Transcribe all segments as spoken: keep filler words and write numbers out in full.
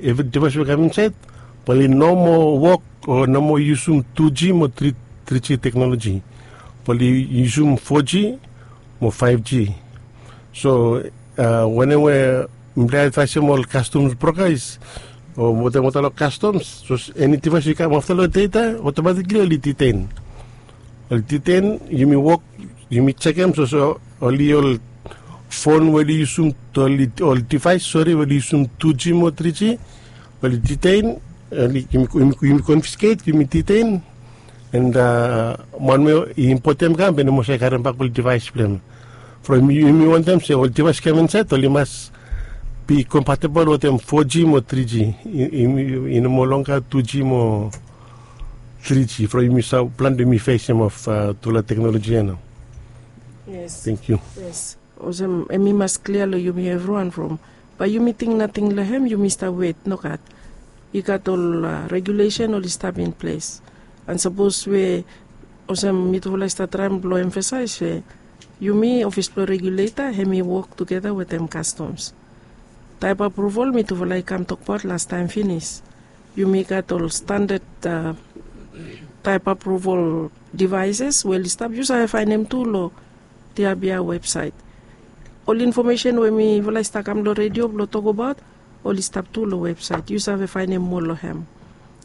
Evri devaes we i kam insaed bae oli no moa wok o no moa yusum tu G mo tri G teknoloji. Bae oli yusum fo G mo faef G. So wanem we mifala i advaesem ol kastoms brokas o wetem olgeta long kastoms, sapos eni devaes we i kam afta long data, otomatikli oli ditein. Oli ditein, yumi wok, yumi jekem sapos oli ol fon we oli yusum, ol devaes, sori, we oli yusum tu G mo tri G, oli ditein, yumi konfisket, yumi ditein. And man we i impotem i kam bae i no moa save karem bak ol devaes blong hem. From yumi wantem se ol devaes i kam insaed oli mas be compatible wetem fo G mo tri G. I no moa longa tu G mo tri G from yumi save plan blong yumi fesem of tufala teknoloji ya nao. Yes. Thank you. Yes. Olsem hemi mas klia long yumi evriwan from bae yumi ting nating long hem, yumi stap wet, nogat. I gat ol regulesen oli stap in ples. And sapos we olsem mitufala i stap traem blong emfasaes se yumi ofis blong reguleta hemi wok tugeta wetem kastoms. Taep aproval mitufala i kam tokbaot lastaem finis. Yumi gat ol standad taep aproval devaeses we oli stap, yu save faenem tu long Tiabia websaet. Ol infomesen we mifala i stap kam long redio blong tokbaot oli stap tu long websaet, yu save faenem moa long hem.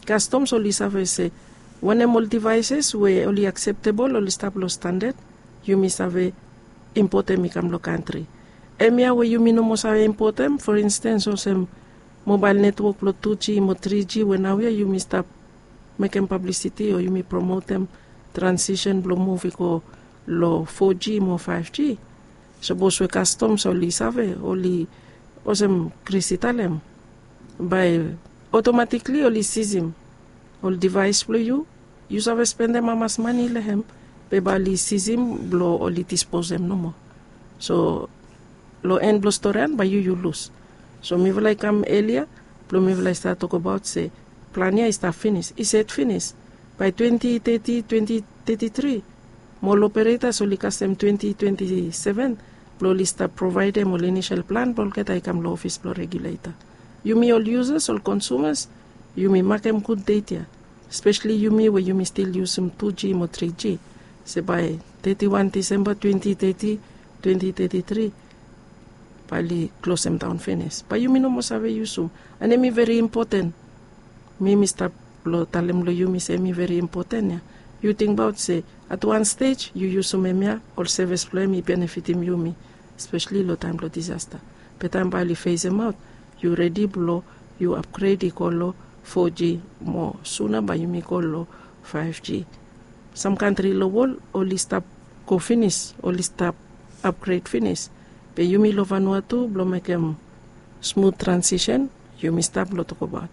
Kastoms oli save se wanem ol devaeses we oli akseptebol oli stap long standad, yumi save impotem i kam long kantri. Hemia we yumi no moa save impotem, for instens olsem mobael netwok blong tu G mo tri G we naoia yumi stap mekem pablisiti o yumi promotem transisen blong muv i go long fo G mo faef G. Sapos we kastoms oli save, oli olsem Kris i talem, bae otomatikli oli sizim ol devaes blong yu. Yu save spendem hamas mane long hem, be bae oli sizim blong oli disposem nomo. So long en blong storian bae yu yu lus. So mifala i kam elia blong mifala i stap tokbaot se plan ya i stap finis, i set finis. Bae twenti teti, twenti teti tri, mo ol operetas oli kasem twenti twenti seven blong oli stap provaedem ol inisel plan blong olgeta i kam long ofis blong reguleta. Yumi ol yusas, ol konsumas, yumi makem gud det ya, spesali yumi we yumi stil yusum tu G mo tri G, se bae teti wan Disemba twenti teti, twenti teti tri, bae oli klosemdaon finis, bae yumi no moa save yusum. And hemi veri impoten. Mi mi stap blong talem long yumi se hemi veri impoten ya. Yu tingbaot se at wan stej yu yusum hemia, ol sevis blong hem i benefitim yumi, spesali long taem blong disasta. Be taem bae oli fesemaot, yu redi blong yu apgred i go long fo G, mo suna bae yumi go long faef G. Sam kantri long wol oli stap go finis, oli stap apgred finis. Be yumi long Vanua tu blong mekem smut transisen, yumi stap blong tokbaot.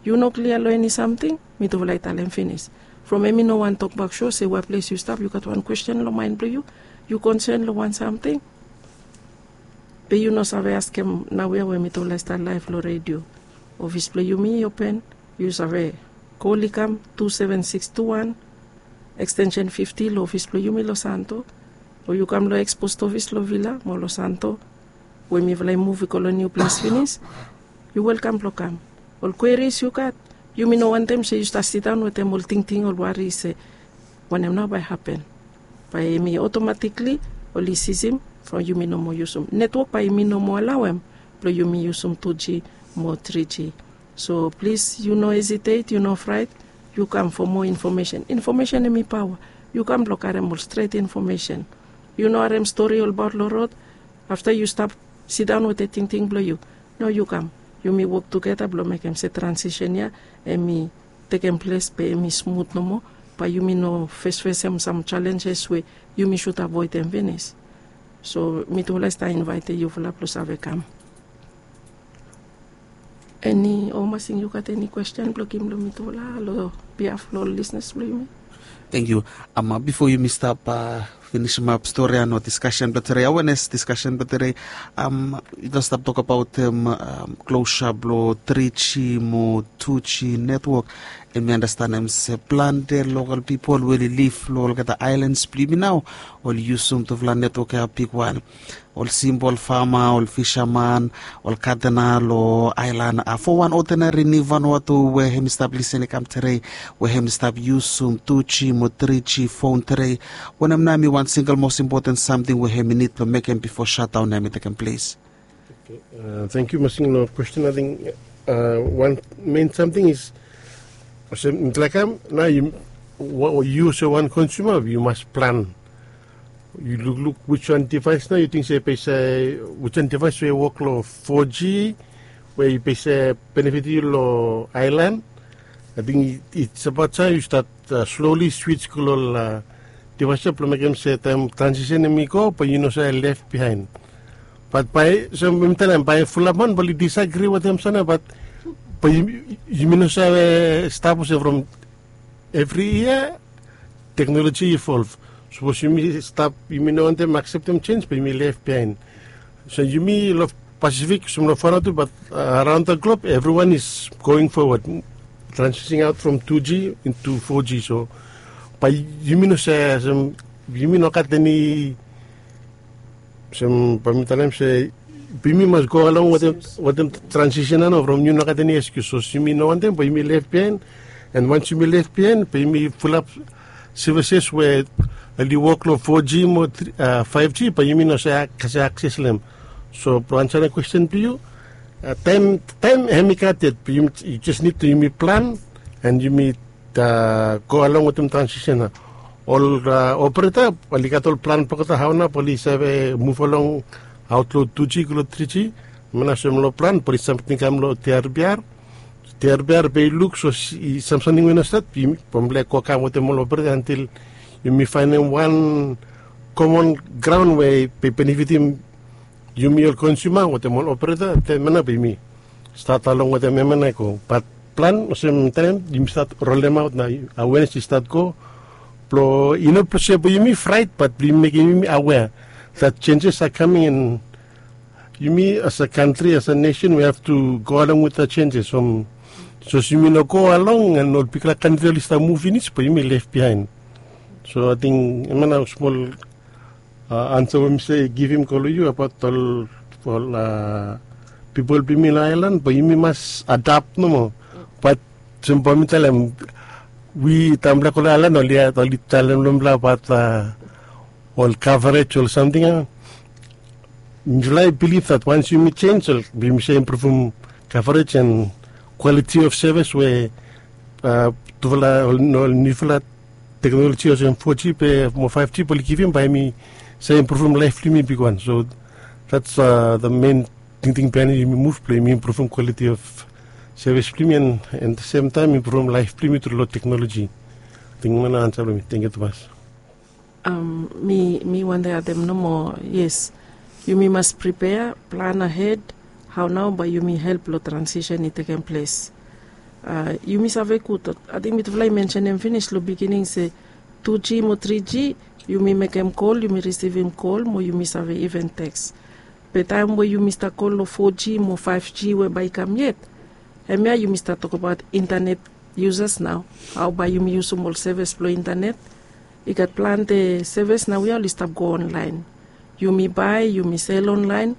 Yu no klia long eni samting, mitufala i talem finis. From hemi no wan tokbak so se we ples yu stap yu gat wan kwesten long maen blong yu, yu konsen long wan samting, be yu no save askem naoia we mitufala i stap laef long redio. Ofis blong yumi i open. Yu save kol i kam tu seven six tu wan, ekstensen fifti long ofis blong yumi long Santo, o yu kam long eks pos ofis long Vila mo long Santo, we mifala i muv i go long niu ples finis, yu welkam blong kam. Ol kweris yu gat, yumi no wantem se yu stap sidaon wetem ol tingting, ol wari se wanem nao bae hapen. Bae hemi otomatikli oli sizim from yumi no moa yusum. Netwok bae yumi no moa alaoem blong yumi yusum tu G mo tri G. So plis, yu no hesitet, yu no fraet, yu kam fo moa infomesen. Infomesen hemi paoa. Yu kam blong karem ol stret infomesen. Yu no harem stori olbaot long rod, afta yu stap sidaon wetem tingting blong yu. No, yu kam. Yumi wok tugeta blong mekem se transisen ya hemi tekem ples be hemi smut nomo, bae yumi no fesfesem sam jalenjes we yumi sud avoedem finis. So mitufala i stap invaetem yufala blong save kam. Eni, Omasing, yu gat eni kwesten blong givim long mitufala long biaf long ol lisnas blong yumi? Tangkiu. Bifo yumi stap finisimap stori ya no diskasen blong tere, awenes diskasen blong tere. Yutufala stap tokabaotem klosap long tri g mo tu g netwok. Em mi anastanem se plante lokal pipol we oli liv long olgeta aelans blong yumi nao oli yusum tufala netwok ya bigwan. Ol simpol fama, ol fisaman, ol katena long aelan a fo wan odenari nivan watu we hem i stap lisen i kam tere, we hem i stap yusum tu g mo tri g fon tere. Wanem nao hem i wan singel mos impoten samting we hem i nid blong mekem bifo shatdaon ya hem i tekem ples? Tangkiu masing long kwesten. Ating wan men samting is olsem mitlaikam nao yu olsem wan konsuma yu mas plan. Yu lukluk wiswan divaes nao yu ting se bese wiswan divaes we wok long fo g we yu bese benefit yu long aelan. Ating it's abaot sa yu stat sloli swits go long ol divaes ya blong mekem se taem transisen hem i go bae yu no save lef bihaen. Bat bae so mi talem bae fulap man bae oli disagri wetem sana bat bae yumi no save stap olsem from evri yia teknoloji i evolv. Sapos yumi stap yumi no wantem akseptem jenj bae yumi lef bihaen. So yumi long pasifik olsem long fana tu bat araon da glop evriwan is going fowad, transiting aot from tu g intu fo g. So bae yumi no save olsem yumi no gat eni olsem bae mi talem se yumi mas go along wetem transisen ya nao from yu no gat eni eskius sapos yumi no wantem bae yumi lef bihaen. An wans yumi lef bihaen bae yumi fulap sevises we oli wok long fo g mo faef g bae yumi no save akses long hem. So blong ansarem kwesten blong yu, taem hem i gat yet yu jes nid blong yumi plan an yumi go along wetem transisen ya. Ol opereta oli gat ol plan blong olgeta hao nao bae oli save muv along aot long tu g go long tri g. Hemia nao olsem long plan bae oli samting kam long tiarbiar. Tiarbiar bae i luk so i sam samting we i no stat bae mifala i go kam wetem ol opereta antil yumi faenem wan komon graon we bae i benefitim yumi ol konsuma wetem ol opereta. Taem ya nao bae yumi stat along wetem hemia nao i go bat plan olsem taem yumi stat rolemaot nao awenes i stat go blong i no blong se bae yumi fraet bat blong yumi mekem yumi awea that changes are coming and yumi as a kantri as a nesen we have to go along with the changes. Sapos yumi no go along an ol bigfala kantri oli stap muv finis bae yumi lef bihaen. So ating hemia nao smol ansa we mi save givim go long yu abaot ol pipol blong yumi long aelan bae yumi mas adap nomo. Bat olsem bae mi talem wi taem blong go long aelan oli talem long mifala abaot ol kavarej ol samting ya. Mifala i bilif that wans yumi jenj ol yumi save impruvum kavarej an kwaliti of sevis we tufala ol niufala teknoloji olsem fo g mo faef g bae oli givim bae yumi save impruvum laef blong yumi bigwan. So that's the men tingting biaen yumi muv blong yumi impruvum kwaliti of sevis blong yumi an the sem taem impruvum laef blong yumi tru long teknoloji. Ating hemia nao ansa blong mi. Tangkiu tumas. Mi wantem adem nomo. Yes, yumi mas pripea plan ahed hao nao bae yumi help long transisen i tekem ples. Yumi save gud ating mitufala i mensenem finis long bigining se tu g mo tri g yumi mekem kol yumi risivim kol mo yumi save iven teks. Be taem we yumi stap go long fo g mo faef g we bae i kam yet, hemia yumi stap tokbaot intanet yusas nao, hao bae yumi yusum ol sevis blong intanet. I gat plante sevis nao we oli stap go onlaen. Yumi bae yumi sel onlaen.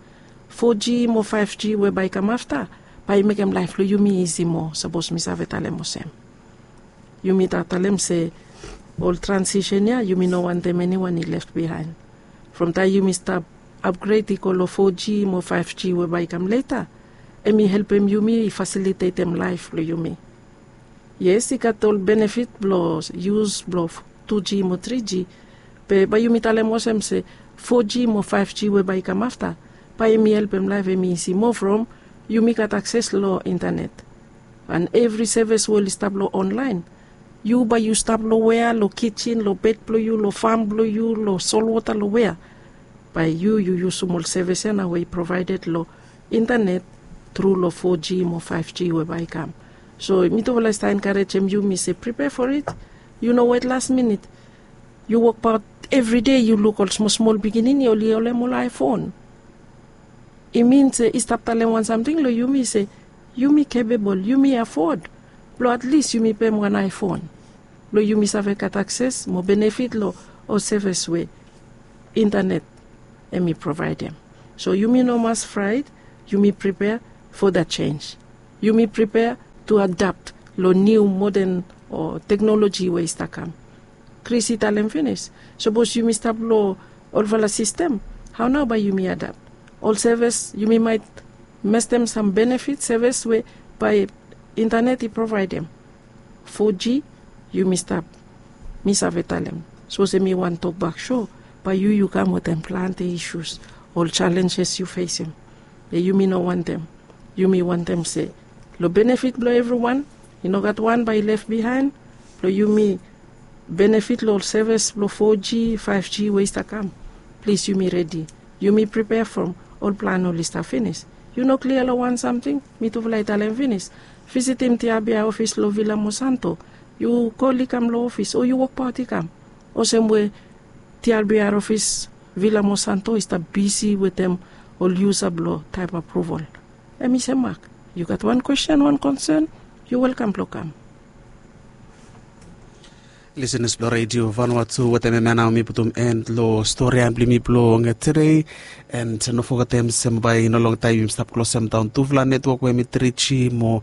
Fo g mo faef g we bae i kam afta bae i mekem laef blong yumi isi moa sapos mi save talem olsem. Yumi stap talem se ol transisen ya yumi no wantem eniwan i lef bihaen. From taem yumi stap apgred i go long fo g mo faef g we bae i kam leta, hem i helpem yumi i fasilitetem laef blong yumi. Yes, i gat ol benefit blong yus blong tu g mo tri g. Be bae yumi talem olsem se fo g mo faef g we bae i kam afta bae hem i helpem laef hem i isi moa from yumi gat akses long intanet. An evri sevis we oli stap long onlaen, yu bae yu stap long wea, long kijin, long bed blong yu, long fam blong yu, long solwota, long wea, bae yu yu yusum ol sevis ya nao we i provaeded long intanet tru long fo g mo faef g we bae i kam. So mitufala i stap enkarejem yumi se pripea fo it. Yu no wet las minit. Yu wokbaot Evri dei yu luk ol smosmol pikinini oli holem ol iphone. I min se i stap talem wan samting long yumi se yumi kepebol, yumi afod blong at lis yumi pem wan iphone blong yumi save gat akses mo benefit long ol sevis we intanet em i provaedem. So yumi no mas fraet. Yumi pripea fo dat sens. Yumi pripea tu adapt long niu moden o teknoloji we i stap kam. Kris i talem finis, sapos yumi stap long olfala sistem, hao nao bae yumi adapt? Ol sevis yumi maet mestem sam benefit sevis we bae intanet i provaedem. Fo g yumi stap. Mi save talem sapos em i wan tokbak so, bae yu yu kam wetem plante isus, ol salenjes yu fesem. Be yumi no wantem. Yumi wantem se long benefit blong evriwan, i no gat wan bae i lef bihaen. Blong yumi benefit long ol sevis blong fo g, faef g we i stap kam. Plis yumi redi. Yumi pripea from ol plan oli stap finis. Yu no klia long wan samting mitufala i talem finis. Visitim tiabia ofis long vila mosanto. Yu kol i kam long ofis o yu wokbaot i kam. Olsem we tiabia ofis vila mosanto i stap bisi wetem ol yusa blong taep apruval. Em i sem mak. Yu gat wan kwesten, wan konsen, yu welkam blong kam. Lisenas blong redio vanua tu, wetem em ya nao mi putum en long stori ya blong yumi blong tedei. And no fogetem se bae i no longtaem yumi stap klosem daon tufala netwok we mi tri g mo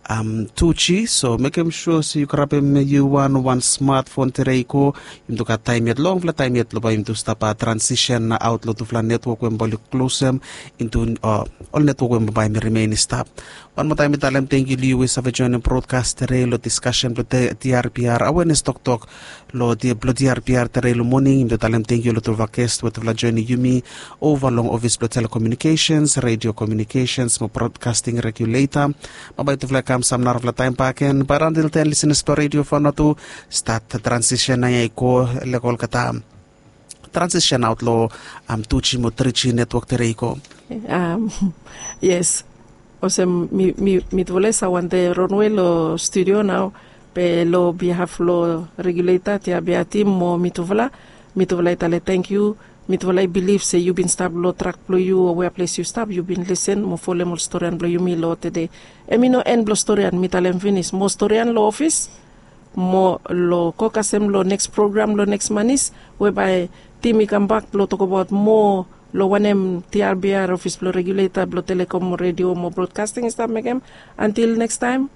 um, tu g. So mekem sua se yu karapem yu wan wan smatfon tedei i go. Yumi tu gat taem yet, longfala taem yet long bae yumi tu stap transisen aot long tufala netwok we bae oli klosem intu ol netwok we bae mi rimen i stap. Wan moa taem mi talem tangkiu long yu we save joenem brodkas tedei long diskasen blong tiarbiar awenes toktok long tiarbiar tedei long moning. Yumi tu talem tangkiu long tufala ges we tufala joenem yumi ova long ofis blong telekomunikesens, redio komunikesens mo brodkasting reguleta. Bambae tufala i kam sam narafala taem bakegen, bat antil ten lisenas blong redio fanua tu, stat transisen nao ya i go lek olgeta transisen aot long tu g mo tri g netwok tedei i go. Yes. Olsem mitufala i save wantem ronwe long studio nao, be long bihaf long reguleta tiabia tim mo mitufala, mitufala i talem tangkiu. Mitufala i bilif se yu bin stap long trak blong yu o wea ples yu stap, yu bin lisen mo folem ol storian blong yumi long tede. Em i no en blong storian, mi talem finis, mo storian long ofis mo long go kasem long neks program long neks manis, we bae tim i kambak blong tokbaot moa long wanem tiarbiar ofis blong reguleta blong telekom mo redio mo brodkasting i stap mekem. Antil neks taem,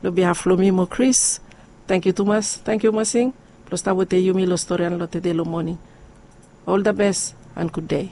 long bihaf blong mi mo Kris, tangkiu tumas, tangkiu masing blong stap wetem yumi long storian long tede long moning. Ol da bes and gud dei.